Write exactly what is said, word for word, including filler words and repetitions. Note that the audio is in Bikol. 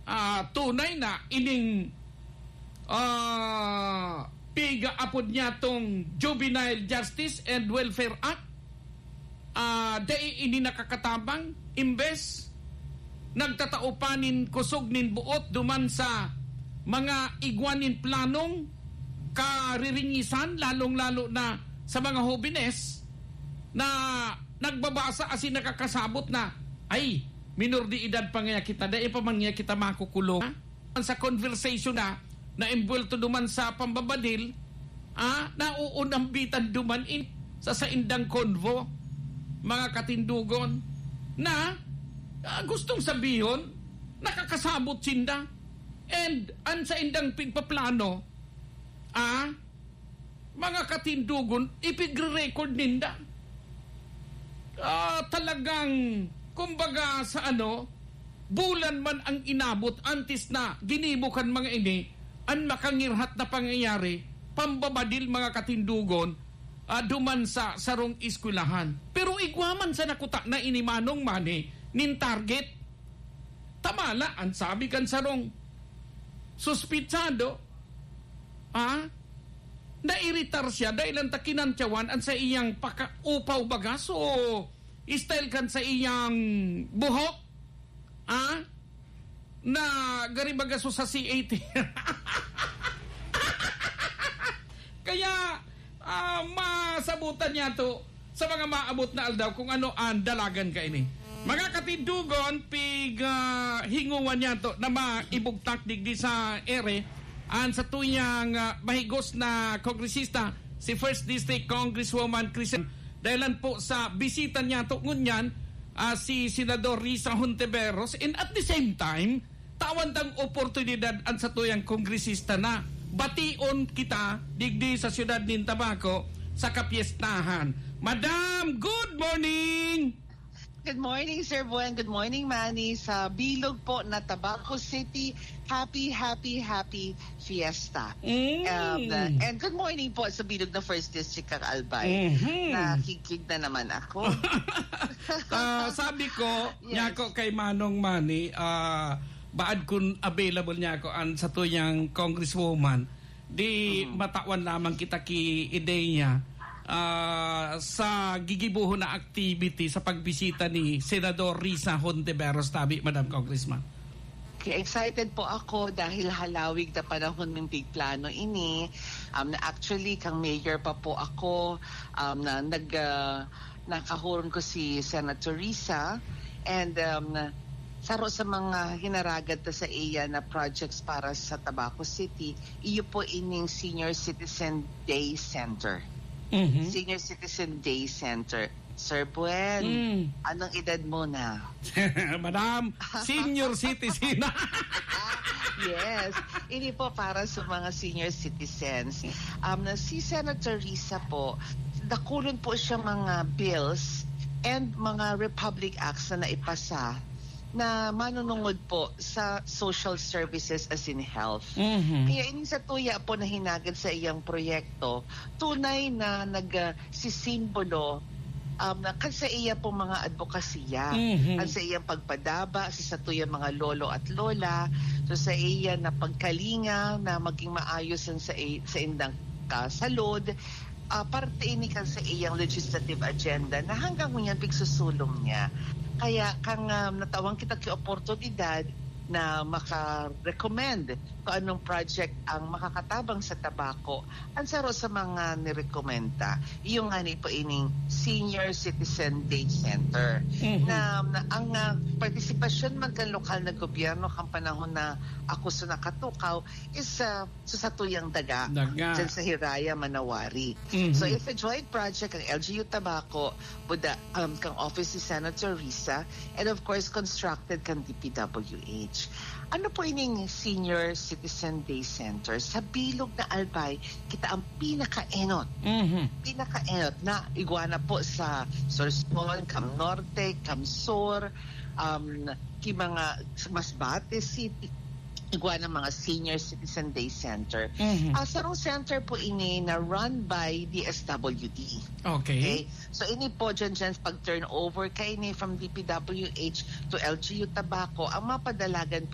ah, tunay na ining, ah, piga apod niya tong Juvenile Justice and Welfare Act, ah, dai ini nakakatabang, imbes nagtatao pa nin kusog nin buot duman sa mga igwa nin planong kariringisan, lalong-lalo na sa mga hobenes na nagbabasa asin nakakasabot na, "Ay, minor de edad pa ngaya kita, dai pa man ngaya kita makukulong." Sa conversation na, na-embwelto duman sa pambabadil, ah, nauunambitan duman in, sa saindang convo, mga katindugon, na, ah, gustong sabihon, nakakasabot sinda. And an saindang pigpaplano, ah, mga katindugon, ipigre-record ninda. Ah, talagang, kumbaga sa ano, bulan man ang inabot antes na ginibo kan mga ini, an makangirhat na pangyayari, pambabadil, mga katindugon, ah, duman sa sarong eskwelahan. Pero igwa man sa nakuta na ini, Manong Manny, nin target. Tama la, an sabi kan sarong suspitsado, ah, nairitar siya dahil an ta kinantyawan an sa iyang paka-upaw baga. So, style kan sa iyang buhok, ah, na gari baga so sa C A T. Kaya, ah, masabutan niya to sa mga maabot na aldaw kung ano ang dalagan kaini. Mga katindugon, pig, ah, hinguan niya to na maibugtak digdi sa ere an satuyang, ah, mahigos na kongresista, si First District Congresswoman Christian, dahilan po sa bisita niya to ngunyan, ah, si Senador Risa Hontiveros, and at the same time, tawan tang oportunidad an satuyang kongresista na bation kita digdi sa siyudad nin Tabaco sa kapyestahan. Madam, good morning! Good morning, Sir Buen. Good morning, Manny. Sa bilog po na Tabaco City, happy, happy, happy fiesta. Mm. Um, uh, and good morning po sa bilog na First District, Kang Albay. Mhm. Nakikig na naman ako. Ah, sabi ko, Yes. niya ko kay Manong Manny, ah, baad kun available niya ako an satuyang congresswoman, di Mhm. matawan lamang kita ki ideya, ah, sa gigibohon na activity sa pagbisita ni Senador Risa Hontiveros tabi, Madam Congressman. Okay, excited po ako dahil halawig na panahon ng big plano ini. Um, na actually, kang mayor pa po ako, um, na nag, ah, nakahuron ko si Senator Risa, and, um, saro sa mga hinaragad ta sa iya na projects para sa Tabaco City, iyo po ining Senior Citizen Day Center. Mhm. Senior Citizen Day Center. Sir Buen, Mm. anong edad mo na? Madam, senior citizen. Yes. Ini po para sa mga senior citizens. Um, na si Senator Risa po, dakulon po siya mga bills and mga Republic Acts na naipasa na manunungod po sa social services as in health. Mhm. Kaya ini sa tuya po na hinagad sa iyang proyekto, tunay na nag, ah, sisimbolo, um, na kan sa iya pong mga adbokasya, Mhm. kan sa iyang pagpadaba sa satuyang mga lolo at lola, so sa iya na pagkalinga na maging maayos ang sa i-, sa indang kasalod, ah, parte ini kan sa iyang legislative agenda na hanggang ngunyan pigsusulong niya. Kaya kang, um, natawang kita ki oportunidad na maka-recommend kung anong project ang makakatabang sa tabako, ang saro sa mga nirekomenda, yung nga ni po ining Senior Citizen Day Center. Mhm. Na, na ang, ah, partisipasyon man kan lokal na gobyerno kan panahon na ako sa nakatukaw is, ah, sa satuyang daga, Daga. dyan sa Hiraya, Manawari. Mhm. So, it's a joint project ang L G U Tabaco, Buda, um, kang office ni Senator Risa, and of course, constructed kang D P W H. Ano po ining Senior Citizen Day Center? Sa bilog na Albay, kita ang pinakaenot. Mhm. Pinakaenot na igwa na po sa Sorsogon, Cam Norte, Cam Sur, um, ki mga sa Masbate City, igwa ng mga Senior Citizen Day Center. Mhm. Ah, sarong center po ini na run by D S W D. Okay. Okay? So, ini po dyan, dyan pag turnover kaini from D P W H to L G U Tabaco, ang mapadalagan po